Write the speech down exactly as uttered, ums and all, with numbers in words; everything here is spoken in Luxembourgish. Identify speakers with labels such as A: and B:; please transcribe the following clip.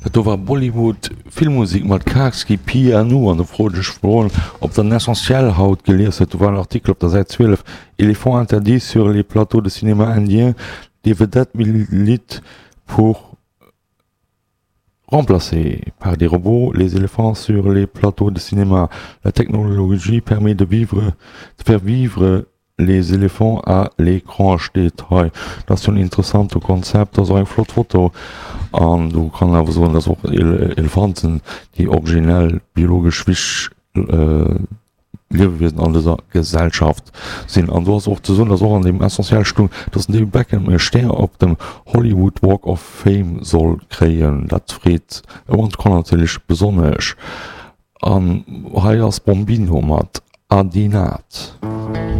A: Dat do war Bollywood Filmmusik mat Karski Piano an do froen ech mol ob der den Essentiel haut gelies huet. Do war en Artikel op der Säit zwielef, Éléphants interdits sur les plateaux de cinéma indiens, des vedettes militent pour remplacer par des robots les éléphants sur les plateaux de cinéma. La technologie permet de vivre, de faire vivre les éléphants à l'écran steet hei. Dat ass jo en interessante Konzept, dat ass och eng flott Foto an do kann een awer soen, dass och Elefanten déi originell biologesch wichteg Liewewiesen an dëser Gesellschaft sinn. An do ass och ze soen, dass och an deem Essentiel stoung, dass den David Beckham e Stär op dem Hollywood Walk of Fame soll kréien. Dat freet e One natierlech besonnesch. An hei ass Bombino mat Adinat.